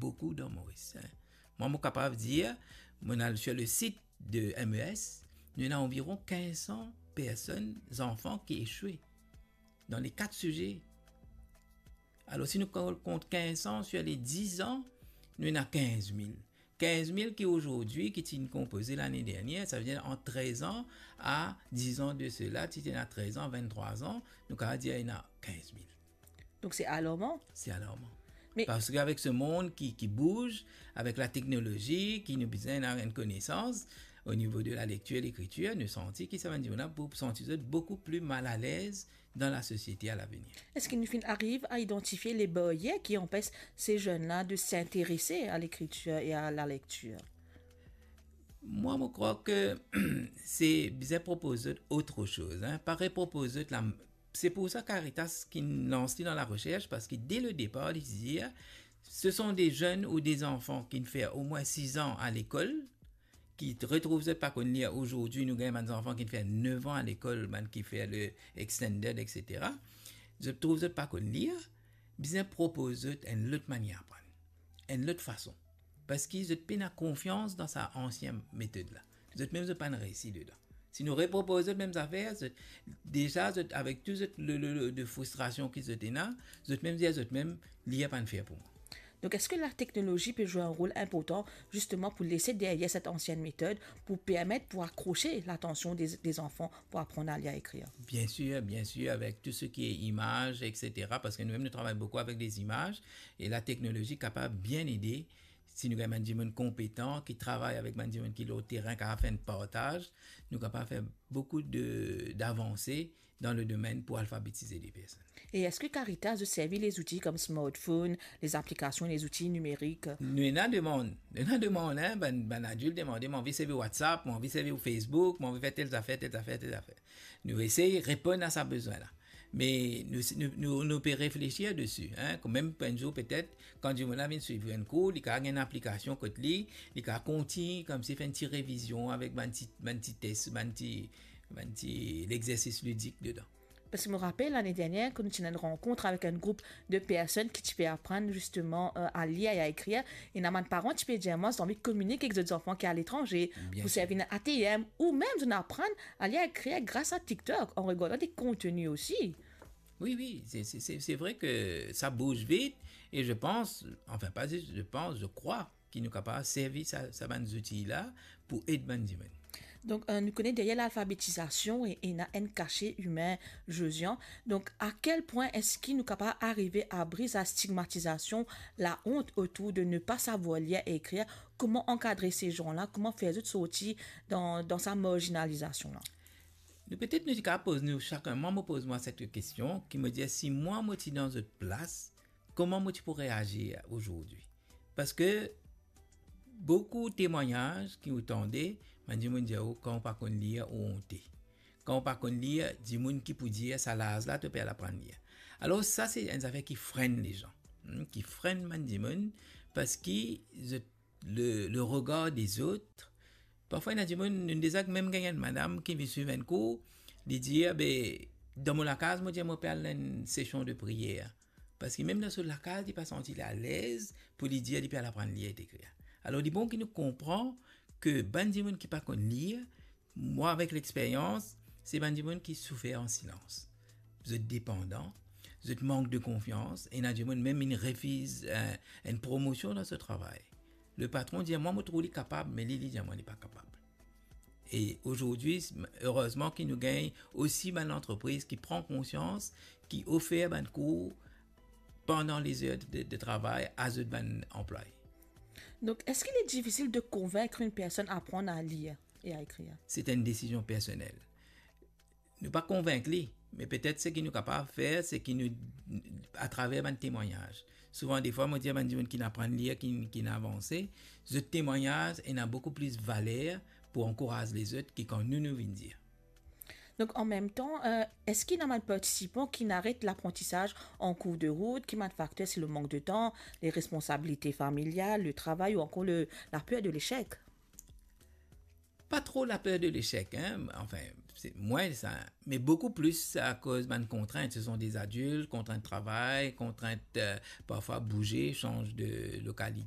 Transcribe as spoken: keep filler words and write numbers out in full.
beaucoup dans Maurice, hein. Moi, mo kapav dir, mo al sur le site de M E S, nou ena anviron quinze cents personnes, zanfan ki echwe dan le kat size. Alor, si nou kont quinze cents sur les dix ans, nou ena quinze mille. Quinze mille ki azordi, ki ti konpoze lane dernie, sa ve dir ant trez an a dix an de sela, ti ena trez an, vinn-trwa an, nou kapav dir ena quinze mille. Donc c'est alarmant. C'est alarmant. Mais- Parce qu'avec ce monde qui, qui bouge, avec la technologie, qui nous besoin d'avoir une connaissance au niveau de la lecture et l'écriture, nou santi ki sa va nou santi zot beaucoup plus mal à l'aise dans la société à l'avenir. Est-ce qu'il nous arrive à identifier les barrières qui empêchent ces jeunes-là de s'intéresser à l'écriture et à la lecture? Moi, je crois que c'est bien proposer autre chose, hein, pas reproposer la. C'est pour ça Caritas qui lance dans la recherche, parce que dès le départ, il dit, ce sont des jeunes ou des enfants qui font au moins six ans à l'école, ki retrouv zot pa konn lir. Azordi nou gagn bann zanfan ki fer nef an lekol, bann ki fer le extended, et cetera. Zot trouv zot pa konn lir, bizin propoz zot enn lot manier aprann, enn lot fason, parski zot pena konfians dan sa ansien metod la. Zot mem zot pa'nn reysi dedan. Si nou repropoz zot mem zafer, zot, deza zot, avek tou zot le, le, le, de fristrasion ki zot ena, zot mem dir zot mem, lir pa'nn fer pou mwa. Donc, est-ce que la technologie peut jouer un rôle important justement pour laisser derrière cette ancienne méthode, pour permettre, pour accrocher l'attention des, des enfants pour apprendre à lire et écrire? Bien sûr, bien sûr, avec tout ce qui est image, et cetera. Parce que nous-mêmes, nous travaillons beaucoup avec des images et la technologie est capable de bien aider. Si nou gagn bann dimoun konpetan, ki travay avek bann dimoun ki lor terin, ki fer enn partaz, nou kapav fer boukou de, d'avanse dan le domenn pou alfabetize de personn. Et est-ce que Caritas a servi les outils comme smartphone, les applications, les outils numériques? Nou ena demann, nou ena demann, hein, bann, bann adilt demande, mo anvi servi WhatsApp, mo anvi servi Facebook, mo anvi fer tel zafer, tel zafer, tel zafer. Nou esey reponn a sa bezwin la. Me nou, nou, nou, nou pe reflesir desi, hein, kanmem enn zour petet, kan dimoun la vinn swiv enn kour, li kapav gagn enn aplikasion kot li, li kapav kontign koumsi fer enn ti revizion avek bann ti, bann ti tes, bann ti, bann ti lexersis lidik dedan. Parce que je me rappelle l'année dernière que nous avons une rencontre avec un groupe de personnes qui te fait apprendre justement euh, à lire et à écrire. Et na bann paran ti pe dir mwa, zot anvi kominike avek zot zanfan ki à l'étranger, Bien pou sûr. Servi enn A T M, ou mem zot aprann à lire et écrire grâce à TikTok, en regardant des contenus aussi. Oui, oui, c'est, c'est, c'est, c'est vrai que ça bouge vite et je pense, enfin pas juste je pense, je crois ki nou kapav servi sa, sa bann zouti la pou ed bann dimoun. Donc, euh, nou kone deryer lalfabetizasyon e, ena enn kase imin, Josian. Donc, à quel point est-ce que nou kapav arive a bris la stigmatisation, la honte autour de ne pas savoir lire et écrire? Comment encadrer ces gens-là? Comment faire zot sorti dans, dans sa marginalisation-là? Nou, petet nou ti kapav poz nou sakenn, mwa, mo poz mwa set kestion, ki mo dir, si mwa, mo ti dan zot plas, kouma mo ti pou reazir azordi? Parski boukou temwagnaz ki ou tande, bann dimoun dir ou, kan ou pa konn lir, ou onte. Kan ou pa konn lir, dimoun ki pou dir, sa laz la, to pe al aprann lir. Alor, sa, se enn zafer ki frenn lezan, hmm, ki frenn bann dimoun, parski zot, le, le regar dezot, parfwa, ena dimoun, nou deza mem gagn enn madam ki vinn swiv enn kour, li dir, be, dan mo lakaz, mo dir, mo pe al enn sesion de priyer. Parski mem dan so lakaz, li pa santi li alez pou li dir li pe al aprann lir ek ekrir. Alor, li bon ki nou konpran ke bann dimoun ki pa konn lir, mwa, avek lexperyans, se bann dimoun ki soufer an silans. Zot depandan, zot mank de konfians, ena dimoun mem inn refiz, eh, enn promosion dan so travay. Le patron dir, mwa, mo trouv li kapab, me li, li dir mwa, li pa kapab. E azordi, erezman ki nou gagn osi bann lantrepriz ki pran konsians, ki ofer bann kour pandan lezer de, de travay a zot bann anplwaye. Donc, est-ce qu'il est difficile de convaincre une personne à apprendre à lire et à écrire? Se enn desizion personel. Nou pa konvink li, me petet seki nou kapav fer, seki nou, atraver bann temwagnaz. Souvan, defwa, mo dir bann dimoun ki aprann lir, ki, ki avanse, zot temwagnaz ena boukou plis valer pou ankouraz lezot ki kan nou, nou vinn dir. Donc, en même temps, euh, est-ce qu'il y a des participants qui arrêtent l'apprentissage en cours de route, qui met facteur, c'est le manque de temps, les responsabilités familiales, le travail ou encore le, la peur de l'échec? Pa tro la peur de l'échec, hein. Enfin, c'est moins ça, mais beaucoup plus à cause de contraintes. Ce sont des adultes, contraintes de travail, contraintes, euh, parfois bouger, change de localité,